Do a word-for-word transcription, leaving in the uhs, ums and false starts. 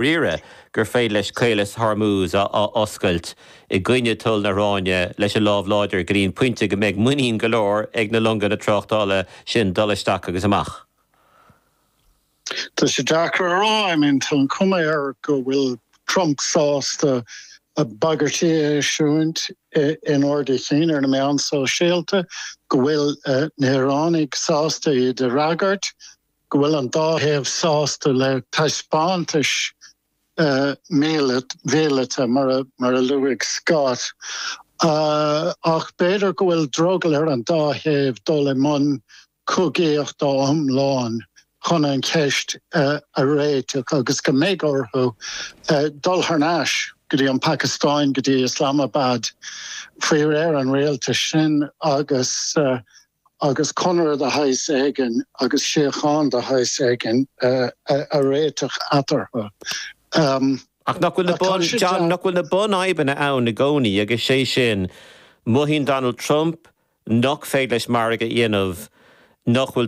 Dáiríre gur féidir leis Caolas Hormuz a oscailt i gcoinne toil na hIaráine leis an lámh láidir go dtí an pointe go mbeidh muinín go leor ag na longa na tráchtála sin dul isteach agus amach. Tá sé deacair a rá I mean tá an chuma air go bhfuil Trump sásta a bagairtí a eisiúint in ard a chinn ar na meáin sóisialta, go bhfuil na hIaránaigh sásta iad a fhreagairt, go bhfuil an dá thaobh sásta le taispeántais mhíleata mar mar a luaigh Scott. Ach b'fhéidir go bhfuil drogall ar an dá thaobh dul i mbun cogaíochta iomlán chun an cheist a réiteach agus go mbeidh orthu dul thar n-ais go dtí an Phacastáin, go dtí Islamabad faoi réir an rialtais sin agus agus conradh de shaghas éigin agus síocháin de shaghas éigin a réiteach eatarthu. Ach nach bhfuil na bun, John, nach bhfuil na bunfhadhbanna ann i gcónaí agus sé sin, mothaíonn Donald Trump nach féidir leis margadh a dhéanamh nach bhfuil